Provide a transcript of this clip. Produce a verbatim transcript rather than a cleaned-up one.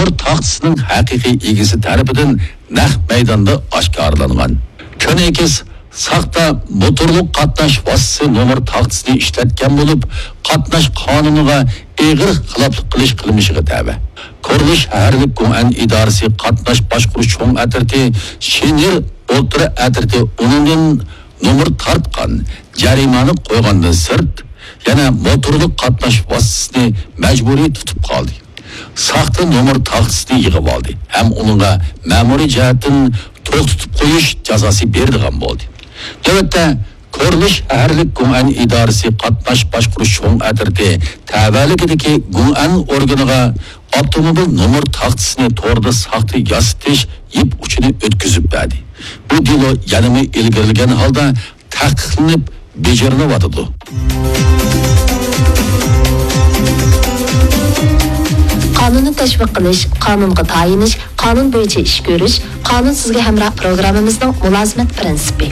نومۇر تاختىسىنىڭ ھەقىقىي ئىگىسى تەرىپىدىن نەق مەيداندا ئاشكارىلانغان. كۆنەكىس ساختا موتورلۇق قاتناش ۋاسىتىسى نومۇر تاختىسىنى ئىشلەتكەن بولۇپ، قاتناش قانۇنىغا ئېغىر خىلاپلىق قىلىش قىلمىشىغا تەۋە. كورلى شەھەرلىك گۇڭئەن ئىدارىسى قاتناش باشقۇرۇش چوڭ ئەترىتى شىنىر ئوتتۇرا ئەترىتى ئۇنىڭدىن نومۇر تارتقان، جەرىمانە قويغاندىن سىرت، يەنە موتورلۇق قاتناش ۋاسىتىسىنى مەجبۇرىي تۇتۇپ قالدى. ساختا نومۇر تاختىسىنى يىغىۋالدى ھەم ئۇنىڭغا مەمۇرىي جەھەتتىن توختىتىپ قويۇش جازاسى بېرىدىغان بولدى. نۆۋەتتە، كورلى شەھەرلىك گۇڭئەن ئىدارىسى قاتناش باشقۇرۇش چوڭ ئەترىتى تەۋەلىكىدىكى گۇڭئەن ئورگىنىغا ئاپتوموبىل نومۇر تاختىسىنى توردا ساختا ياسىتىش يىپ ئۇچىنى ئۆتكۈزۈپ بەردى. بۇ دېلو يەنىمۇ ئىلگىرىلىگەن ھالدا تەھقىقلىنىپ بېجىرىلىۋاتىدۇ. قانۇننى تەشۋىق قىلىش، قانۇنغا تايىنىش، قانۇن بويىچە ئىش كۆرۈش، قانۇن سىزگە ھەمراھ پروگراممىمىزنىڭ مۇلازىمەت پىرىنسىپى.